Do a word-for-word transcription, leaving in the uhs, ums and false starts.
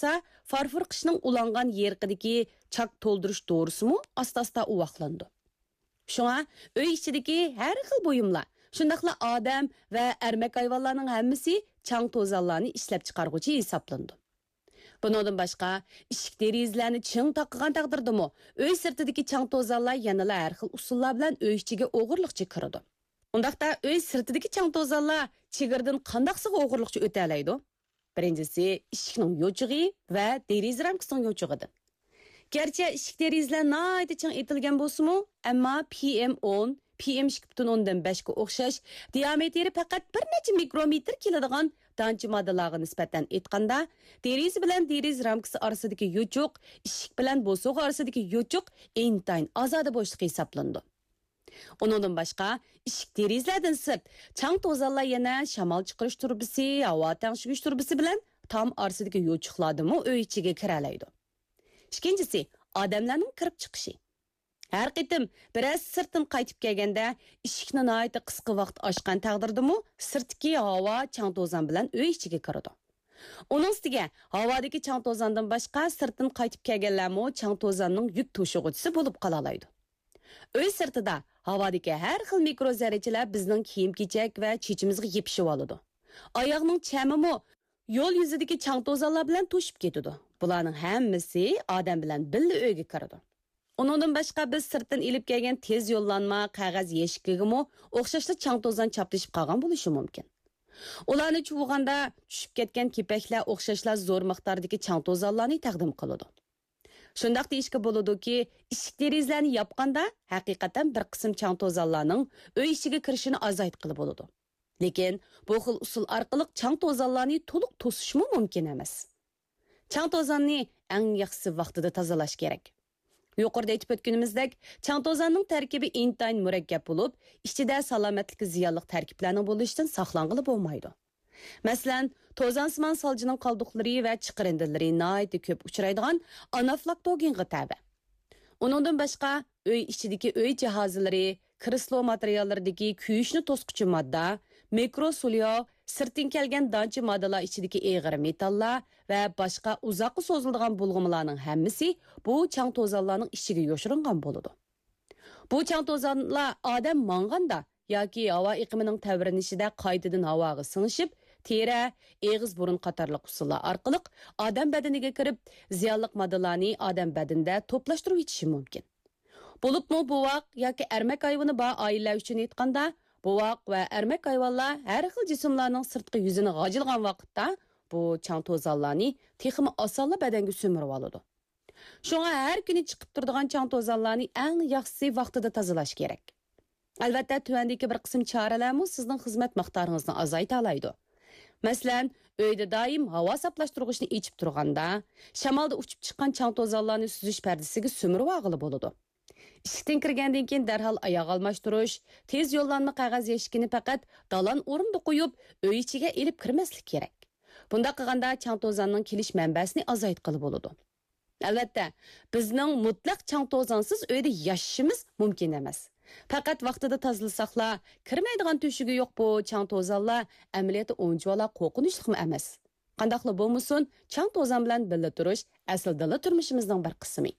ۋاقىتتا فارفور قىشنىڭ ئۇلانغان يېرىقىدىكى چاك تولدۇرۇش دورىسىمۇ ئاستا-ئاستا ئۇۋاقلىنىدۇ. شۇڭا ئۆي ئىچىدىكى ھەر خىل بۇيۇملار، شۇنداقلا ئادەم ۋە ئەرمەك ھايۋانلارنىڭ ھەممىسى چاڭ-توزانلارنى ئىشلەپچىقارغۇچى ھېسابلىنىدۇ. بۇنىڭدىن باشقا، ئىشىك دېرىزىلەرنى چىڭ تاقىغان تەقدىردىمۇ، ئۆي سىرتىدىكى چاڭ-توزانلار يەنىلا ھەر خىل ئۇسۇللار بىلەن ئۆي ئىچىگە ئوغرىلىقچە كىرىدۇ. ئۇنداقتا ئۆي سىرتىدىكى چاڭ-توزانلار چېگرىدىن قانداقسىغا ئوغرىلىقچە ئۆتەلەيدۇ؟ بىرىنچىسى، ئىشىكنىڭ يوچۇقى ۋە دېرىزە رامكىسىنىڭ يوچۇقىدىن. گەرچە ئىشىك دېرىزىلەر ناھايىتى چىڭ ئېتىلگەن بولسىمۇ، ئەمما پى ئېم ئون، پى ئېم ئىككى پۈتۈن ئوندىن بەشكە ئوخشاش دىئامېتىرى پەقەت بىر نەچچە مىكرومېتىر كېلىدىغان دانچە ماددىلارغا نىسبەتەن ئېيتقاندا، دېرىزە بىلەن دېرىزە رامكىسى ئارىسىدىكى يوچۇق، ئىشىك بىلەن بوسۇغا ئارىسىدىكى يوچۇق ئىنتايىن ئازادە بوشلۇق ھېسابلىنىدۇ. ئۇنىڭدىن باشقا، ئىشىك دېرىزىلەردىن سىرت، چاڭ-توزانلار يەنە شامال چىقىرىش تۇرۇبىسى، ھاۋا تەڭشىگۈچ تۇرۇبىسى بىلەن تام ئارىسىدىكى يوچۇقلاردىنمۇ ئۆي ئىچىگە كىرەلەيدۇ. ئىككىنچىسى، ئادەملەرنىڭ كىرىپ چىقىشى. ھەر قېتىم بىرەرسى سىرتتىن قايتىپ كەلگەندە، ئىشىكنى ناھايىتى قىسقا ۋاقىت ئاچقان تەقدىردىمۇ، سىرتتىكى ھاۋا چاڭ-توزان بىلەن ئۆي ئىچىگە كىرىدۇ. ئۇنىڭ ئۈستىگە، ھاۋادىكى چاڭ-توزاندىن باشقا، سىرتتىن قايتىپ كەلگەنلەرمۇ چاڭ-توزاننىڭ يۈك توشۇغۇچىسى بولۇپ قالالايدۇ. ئۆي سىرتىدا ھاۋادىكى ھەر خىل مىكرو زەررىچىلەر بىزنىڭ كىيىم-كېچەك ۋە چېچىمىزغا يېپىشىۋالىدۇ. ئاياغنىڭ چەمىمۇ يول يۈزىدىكى چاڭ-توزانلار بىلەن توشۇپ كېتىدۇ. بۇلارنىڭ ھەممىسى ئادەم بىلەن بىللە ئۆيگە كىرىدۇ. ئۇنىڭدىن باشقا، بىز سىرتتىن ئېلىپ كەلگەن تېز يوللانما قەغەز يەشىكىگىمۇ ئوخشاشلا چاڭ-توزان چاپلىشىپ قالغان بولۇشى مۇمكىن. ئۇلارنى چۇۋۇغاندا، چۈشۈپ كەتكەن كېپەكلەر ئوخشاشلا زور مىقداردىكى چاڭ-توزانلارنى تەقدىم قىلىدۇ. شۇنداق دېيىشكە بولىدۇكى، ئىشىك-دېرىزىلەرنى ياپقاندا، ھەقىقەتەن بىر قىسىم چاڭ-توزانلارنىڭ ئۆي ئىچىگە كىرىشىنى ئازايتقىلى بولىدۇ. لېكىن بۇ خىل ئۇسۇل ئارقىلىق چاڭ-توزانلارنى تولۇق توسۇشمۇ مۇمكىن ئەمەس. چاڭ-توزاننى ئەڭ ياخشىسى ۋاقتىدا تازىلاش كېرەك. يۇقىرىدا ئېيتىپ ئۆتكىنىمىزدەك، چاڭ-توزاننىڭ تەركىبى ئىنتايىن مۇرەككەپ بولۇپ، ئىچىدە سالامەتلىككە زىيانلىق تەركىبلەرنىڭ بولۇشىدىن ساقلانغىلى بولمايدۇ. مەسىلەن، توزانسىمان سالجىنىڭ قالدۇقلىرى ۋە چىقىرىندىلىرى ناھايىتى كۆپ ئۇچرايدىغان ئانافلاكتوگېنغا تەۋە. ئۇنىڭدىن باشقا، ئۆي ئىچىدىكى ئۆي جاھازلىرى، كرېسلو ماتېرىياللىرىدىكى كۆيۈشنى توسقۇچى ماددا، مىكرو سۇلياۋ، سىرتتىن كەلگەن دانچە ماددىلار ئىچىدىكى ئېغىر مېتاللار ۋە باشقا ئۇزاققا سوزۇلىدىغان بۇلغىمىلارنىڭ ھەممىسى بۇ چاڭ-توزانلارنىڭ ئىچىگە يوشۇرۇنغان بولىدۇ. بۇ چاڭ-توزانلار ئادەم ماڭغاندا ياكى ھاۋا ئېقىمىنىڭ تەۋرىنىشىدە قايتىدىن ھاۋاغا سىڭىشىپ، تېرە، ئېغىز، بۇرۇن قاتارلىق ئۇسۇللار ئارقىلىق ئادەم بەدىنىگە كىرىپ، زىيانلىق ماددىلارنى ئادەم بەدىنىدە توپلاشتۇرۇۋېتىشى مۇمكىن. بولۇپمۇ بوۋاق ياكى ئەرمەك ھايۋىنى بار ئائىلىلەر ئۈچۈن ئېيتقاندا، بوۋاق ۋە ئەرمەك ھايۋانلار ھەر خىل جىسىملارنىڭ سىرتقى يۈزىنى غاجىلىغان ۋاقىتتا، بۇ چاڭ-توزانلارنى تېخىمۇ ئاسانلا بەدەنگە سۈمۈرۈۋالىدۇ. شۇڭا ھەر كۈنى چىقىپ تۇرىدىغان چاڭ-توزانلارنى ئەڭ ياخشىسى ۋاقتىدا تازىلاش كېرەك. ئەلۋەتتە، تۆۋەندىكى بىر قىسىم چارىلەرمۇ سىزنىڭ خىزمەت مىقدارىڭىزنى ئازايتالايدۇ. مەسىلەن، ئۆيدە دائىم ھاۋا ساپلاشتۇرغۇچنى ئېچىپ تۇرغاندا، شامالدا ئۇچۇپ چىققان چاڭ-توزانلارنى سۈزۈش پەردىسىگە سۈمۈرۈۋالغىلى بولىدۇ. ئىشىكتىن كىرگەندىن كېيىن دەرھال ئاياغ ئالماشتۇرۇش، تېز يوللانما قەغەز يەشىكىنى پەقەت دالان ئورۇندا قويۇپ، ئۆي ئىچىگە ئېلىپ كىرمەسلىك كېرەك. بۇنداق قىلغاندا چاڭ-توزاننىڭ كېلىش مەنبەسىنى ئازايتقىلى بولىدۇ. ئەلۋەتتە، بىزنىڭ مۇتلەق چاڭ-توزانسىز ئۆيدە ياشىشىمىز مۇمكىن ئەمەس. پەقەت ۋاقتىدا تازىلىساقلا، كىرمەيدىغان تۆشۈكى يوق بۇ چاڭ-توزانلار ئەمەلىيەتتە ئۇنچىۋالا قورقۇنچلۇقمۇ ئەمەس. قانداقلا بولمىسۇن، چاڭ-توزان بىلەن بىللە تۇرۇش ئەسلىدىنلا تۇرمۇشىمىزنىڭ بىر قىسمى.